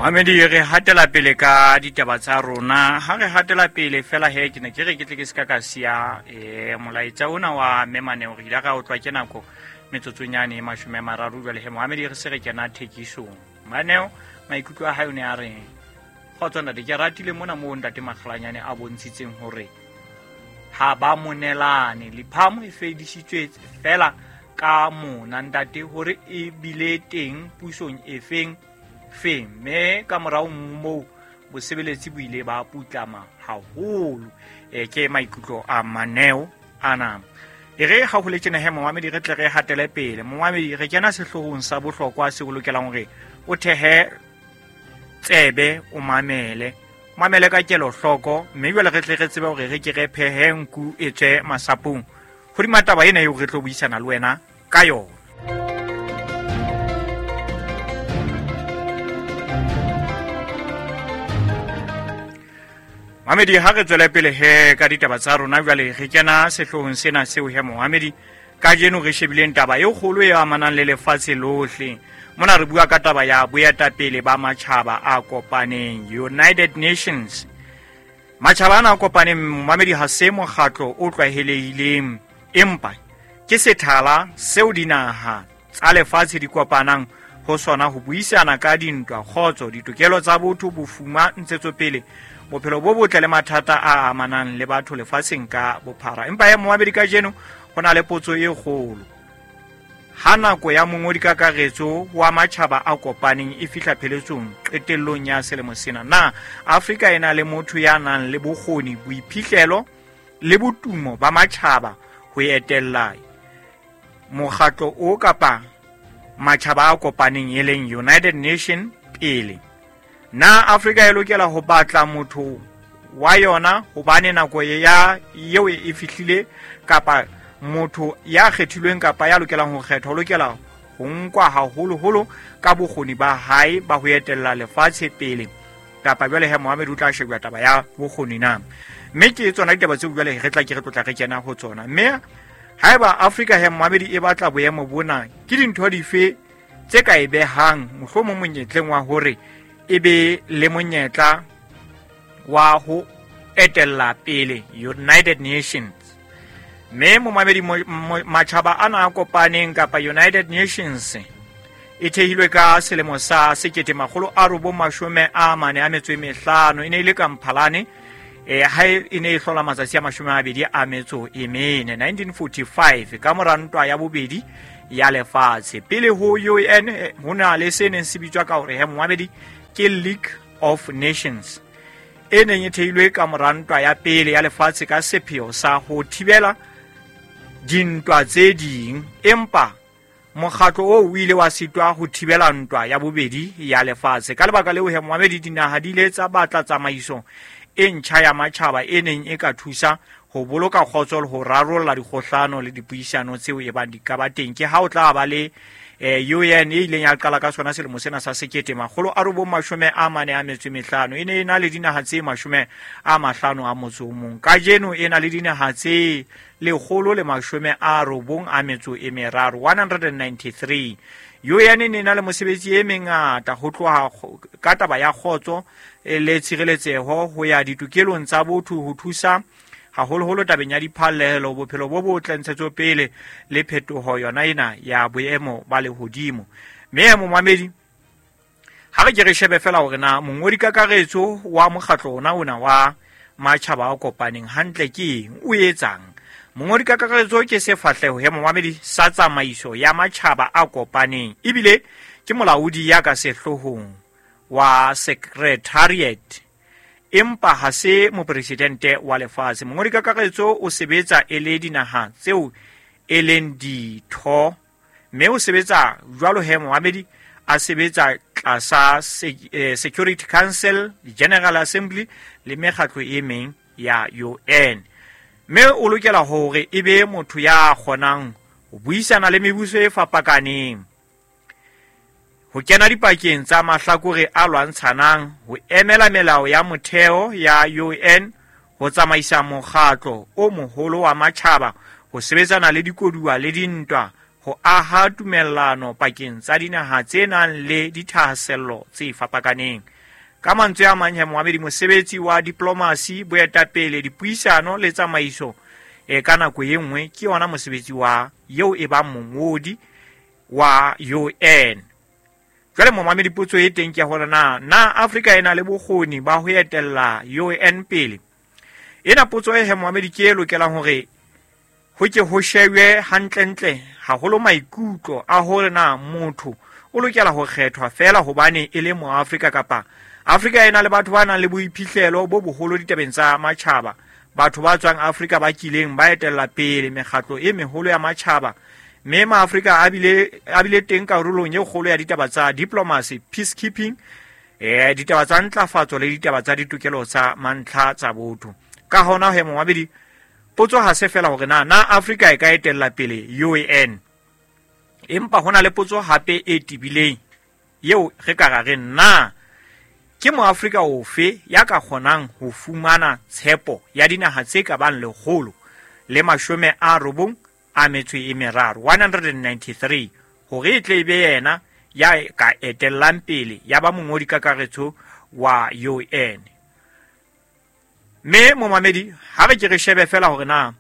Mohamedi, re hatela pele ka ditaba tsa rona. Ha re hatela pele fela he, ke ne ke re ke tle ke se ka ka siya molaetsa ona wa memaneo. Re ile ra utlwa ke nako metsotsonyane e 30 jwale he Mohamedi, re se re kena thekisong. Maneo maikutlo a hae o ne a reng? Kgotso ntate, ke ratile mona moo ntate Makgalanyane a bontshitseng hore ha ba monelane. Liphamo e fedisitswe fela ka mona ntate, hore e bile teng pusong e feng feng, mme ka morao moo bosebeletsi bo ile ba putlama haholo. Ke maikutlo a maneo ana. E re ha ho le tjena he momamedi, re tle re hatele pele. Momamedi, re kena sehloohong sa bohlokwa seo o lokelang hore o thehe tsebe, o mamele, mamele ka kelohloko, mme jwale re tle re tsebe hore re ke re phehe nku e tswe masapong hodima taba ena eo re tlo buisana le wena ka yona. Mohamedi, ha re tswele pele he ka ditaba tsa rona jwale, re kena sehloohong sena seo he Mohamedi kajeno re shebileng taba e kgolo e amanang le lefatshe lohle. Mona re bua ka taba ya boetapele ba matjhaba a kopaneng, United Nations. Matjhaba ana a kopaneng, momamedi, ha se mokgatlo o tlwaelehileng, empa ke sethala seo dinaha tsa lefatshe di kopanang ho sona ho buisana ka dintwa, kgotso, ditokelo tsa botho, bofuma, ntshetsopele, bophelo bo botle le mathata a amanang le batho lefatsheng ka bophara. Empa ya momamedi, kajeno ho na le potso e kgolo. Ha nako ya mongodi kakaretso wa matjhaba a kopaneng e fihla pheletsong qetellong ya selemo sena, na Afrika e na le motho ya nang le bokgoni, boiphihlelo le botumo ba matjhaba ho etella mokgatlo o kapa matjhaba a kopaneng e leng United Nation pele? Na Afrika e lokela ho batla motho wa yona hobane nako ya eo e fihlile, kapa motho ya kgethilweng kapa ya lokelang ho kgethwa o lokela ho nkwa haholoholo ka bokgoni ba hae ba ho etella lefatshe pele? Kapa jwale he Mohammed o tla shebja taba ya bokgoni na? Mme ke tsona ditaba tseo jwale re tla ke re tlotla re kena ho tsona. Mme haeba Afrika he Mohammed e batla boemo bona, ke dintho dife tse ka e behang mohlomong monyetleng wa hore e be le monyetla wa ho etella pele United Nations? Mme momamedi, matjhaba ana a kopaneng kapa United Nations e thehilwe ka selemo sa 1945. E ne e le ka Mphalane, ha e ne e hlola matsatsi a 24, 1945, ka mora ntwa ya bobedi ya lefatshe. Pele ho UN ho na le se neng se bitswa ka hore he momamedi ke League of Nations, e neng e thehilwe ka mora ntwa ya pele ya lefatshe ka sepheo sa ho thibela dintwa tse ding, empa mokgatlo oo o ile wa sitwa ho thibela ntwa ya bobedi ya lefatshe. Ka lebaka leo he momamedi, dinaha di ile tsa batla tsamaiso e ntjha ya matjhaba e neng e ka thusa ho boloka kgotso le ho rarolla dikgohlano le dipuisano tseo e bang di ka ba teng. Ke ha o tla ba le UN e ileng ya qala ka sona selemo sena sa 1945. E ne e na le dinaha tse 51. Kajeno e na le dinaha tse 193, 193. UN e ne na le mosebetsi e mengata ho tloha ka taba ya kgotso le tshireletseho ho ya ditokelong tsa botho, ho thusa haholoholo tabeng ya diphallelo, bophelo bo botle, ntshetsopele le phetoho yona ena ya boemo ba lehodimo. Mme momamedi, ha re ke re shebe fela hore na mongodi kakaretso wa mokgatlo ona ona wa matjhaba a kopaneng hantle ke eng, o etsang? Mongodi kakaretso ke sefahleho he momamedi sa tsamaiso ya matjhaba a kopaneng, ebile ke molaodi ya ka sehloohong wa secretariat, empa ha se mopresidente wa lefatshe. Mongodi kakaretso o sebetsa e le dinaha tseo e leng ditho, mme o sebetsa jwalo he momamedi, a sebetsa tlasa Security Council, General Assembly le mekgatlo e meng ya UN. Mme o lokela hore e be motho ya kgonang ho buisana le mebuso e fapakaneng, ho kena dipakeng tsa mahlakore a lwantshanang, ho emela melao ya motheo ya UN, ho tsamaisa mokgatlo o moholo wa matjhaba, ho sebetsana le dikoduwa le dintwa, ho aha tumellano pakeng tsa dinaha tse nang le dithahasello tse fapakaneng. Ka mantswe a mang he momamedi, mosebetsi wa diplomasi, boetapele, dipuisano le tsamaiso ka nako e nngwe ke yona mosebetsi wa eo e bang mongodi wa UN. Jwale momamedi, potso e teng ke ya hore na Afrika e na le bokgoni ba ho etella UN pele? Ena potso e he momamedi ke e lokelang hore ho ke ho shebwe hantlentle haholo maikutlo a hore na motho o lokela ho kgethwa feela hobane e le Moafrika kapa Afrika e na le batho ba nang le boiphihlelo bo boholo ditabeng tsa matjhaba. Batho ba tswang Afrika ba kileng ba etella pele mekgatlo e meholo ya matjhaba, mme Maafrika a bile teng karolong e kgolo ya ditaba tsa diplomacy, peacekeeping, ditaba tsa ntlafatso le ditaba tsa ditokelo tsa mantlha tsa botho. Ka hona he momamedi, potso ha se fela hore na Afrika e ka etella pele UN, empa hona le potso hape e tebileng eo re ka ra re na ke Moafrika ofe ya ka kgonang ho fumana tshepo ya dinaha tse ka bang 193, 193, hore e tle e be yena ya ka etellang pele ya ba mongodi kakaretso wa UN. Mme momamedi, ha re ke re shebe fela hore na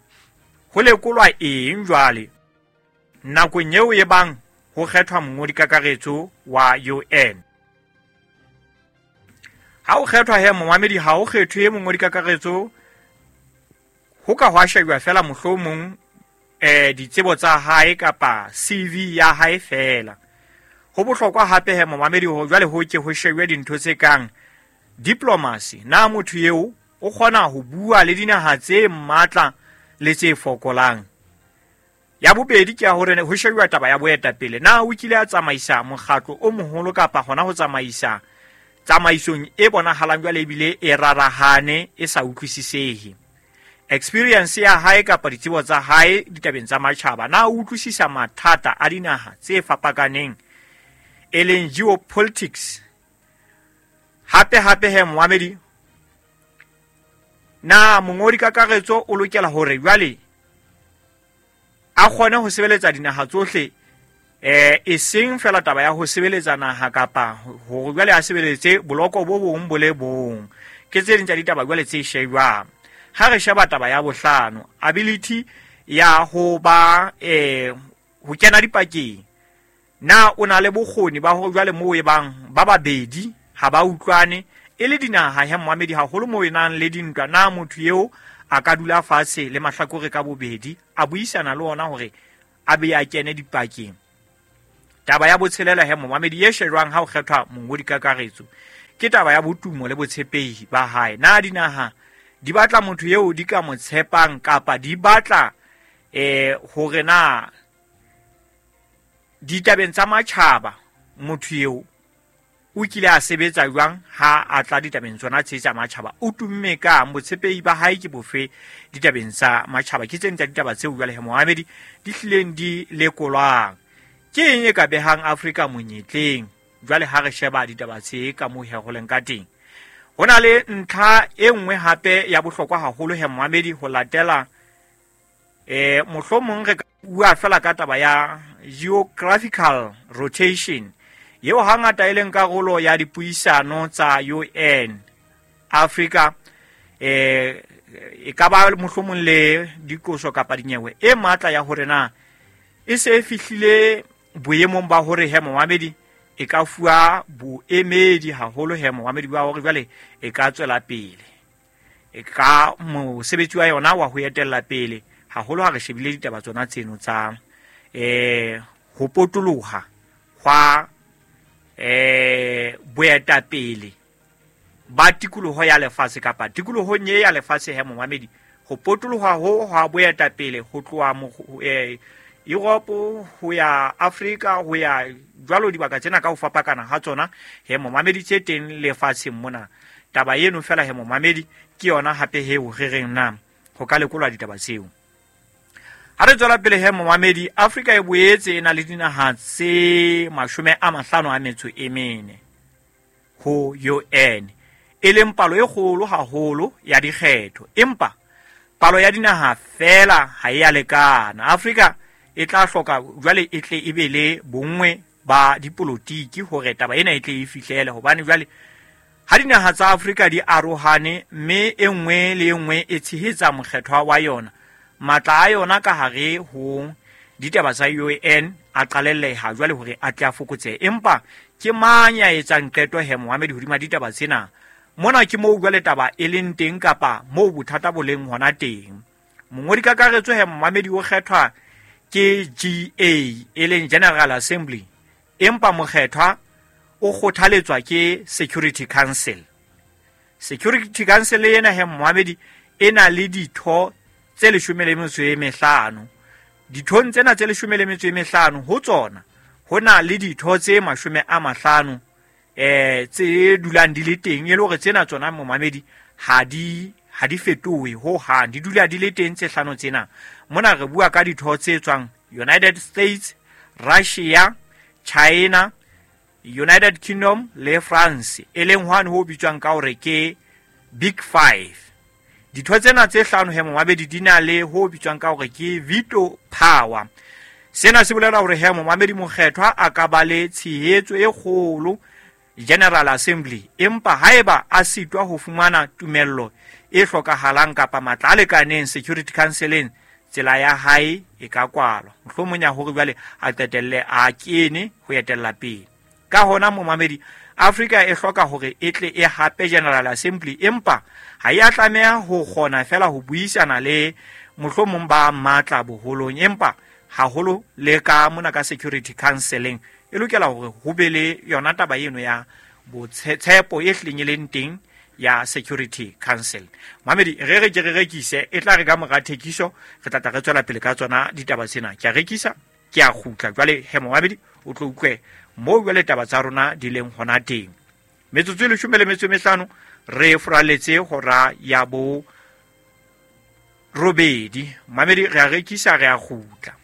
ho lekolwa eng jwale nakong eo e bang ho kgethwa mongodi kakaretso wa UN. Ha o kgethwa he momamedi, ha o kgethwe mongodi kakaretso ho ka hwa shejwa fela mohlomong ditsebo tsa hae kapa CV ya hae fela. Ho bohlokwa hape he momamedi ho jwale ho ke ho shejwe dintho tse kang diplomacy, na motho eo o kgona ho bua le dinaha tse matla le tse fokolang. Ya bobedi ke ya hore ho shejwa taba ya boetapele, na o kile a tsamaisa mokgatlo o moholo kapa hona ho tsamaisa tsamaisong e bonahalang jwale ebile e rarahane e sa utlwisisehe. Experience ya hae kapa ditsebo tsa hae ditabeng tsa matjhaba, na o utlwisisa mathata a dinaha tse fapakaneng e leng geopolitics. Hape hape he momamedi, na mongodi kakaretso o lokela hore jwale a kgone ho sebeletsa dinaha tsohle, e seng fela taba ya ho sebeletsa naha kapa hore jwale a sebeletse boloko bo bong bo le bong. Ke tse ding tsa ditaba jwale tse shejwang. Ha re sheba taba ya bohlano, ability ya ho ba ho kena dipakeng, na o na le bokgoni ba hore jwale moo e bang ba babedi ha ba utlwane e le dinaha he momamedi, haholo moo e nang le dintwa, na motho eo a ka dula fatshe le mahlakore ka bobedi a buisana le ona hore a be a kene dipakeng. Taba ya botshelela he momamedi e shejwang ha ho kgethwa mongodi kakaretso ke taba ya botumo le botshepehi ba hae. Na dinaha di batla motho eo di ka mo tshepang kapa di batla hore na ditabeng tsa matjhaba motho eo o kile a sebetsa jwang ha a tla ditabeng tsona tse tsa matjhaba, o tumme kang, botshepehi ba hae ke bofe ditabeng tsa matjhaba. Ke tse ding tsa ditaba tseo jwale he momamedi di hlileng di lekolwang. Ke eng e ka behang Afrika monyetleng jwale ha re sheba ditaba tse ka moo he ho leng ka teng? Ho na le ntlha e nngwe hape ya bohlokwa haholo he momamedi ho latela mohlomong re ka bua fela ka taba ya geographical rotation eo hangata e leng karolo ya dipuisano tsa UN. Afrika e ka ba mohlomong le dikoso kapa dinyewe e matla ya hore na e se e fihlile boemong ba hore he momamedi e ka fuwa boemedi haholo he momamedi ba hore jwale e ka tswela pele e ka mosebetsi wa yona wa ho etella pele haholo ha re shebile ditaba tsona tseno tsa ho potoloha hwa boetapele ba tikoloho ya lefatshe kapa tikolohong e ya lefatshe he momamedi, ho potoloha ho hwa boetapele ho tloha Europe ho ya Afrika ho ya jwalo dibaka tsena ka ho fapakana ha tsona he momamedi tse teng lefatsheng mona. Taba eno fela he momamedi ke yona hape he o re reng na ho ka lekolwa ditaba tseo. Ha re tswela pele he momamedi, Afrika e boetse e na le dinaha tse 54 ho UN, e leng palo e kgolo haholo ya dikgetho, empa palo ya dinaha fela ha e a lekana. Afrika e tla hloka jwale e tle e be le bonngwe ba dipolotiki hore taba ena e tle e fihlele, hobane jwale Ha dinaha tsa Afrika di arohane mme e nngwe le e nngwe e tshehetsa mokgethwa wa yona, matla a yona ka hare ho ditaba tsa UN a qalelleha jwale hore a tle a fokotsehe. Empa ke mang ya etsang qeto he momamedi hodima ditaba tsena? Mona ke moo jwale taba e leng teng kapa moo bothata bo leng hona teng. Mongodi kakaretso he momamedi o kgethwa ke GA e leng General Assembly, empa mokgethwa o kgothaletswa ke Security Council. Security Council ena he momamedi e na le ditho tse 15. Dithong tsena tse 15 ho tsona ho na le ditho tse 50 tse dulang di le teng, e le hore tsena tsona momamedi ha di fetohe ho hang, di dula di le teng tse hlano tsena. Mona re bua ka ditho tse tswang United States, Russia, China, United Kingdom le France, e leng hwane ho bitswang ka hore ke Big Five. Ditho tsena tse hlano he momamedi di na le ho bitswang ka hore ke veto power. Sena se bolela hore he momamedi mokgethwa a ka ba le tshehetso e kgolo General Assembly, empa haeba a sitwa ho fumana tumello e hlokahalang kapa matla a lekaneng Security Councileng, tsela ya hae e ka kwalwa. Mohlomong ya hore jwale a qetelle a kene ho etella pele. Ka hona momamedi, Afrika e hloka hore e tle e hape General Assembly, empa ha e a tlameha ho kgona fela ho buisana le mohlomong ba matla boholong, empa haholo le ka mona ka Security Councileng e lokela hore ho be le yona taba eno ya botshepo e hlileng e leng teng ya Security Council. Mamedi, re re ke re rekise, e tla re ka mora thekiso re tla tla re tswela pele ka tsona ditaba tsena. Ke a rekisa, ke a kgutla jwale he momamedi o tlo utlwe moo jwale taba tsa rona di leng hona teng. Metsotso e 15 re furaletse hora ya bo 8. Mamedi, re a rekisa, re a kgutla.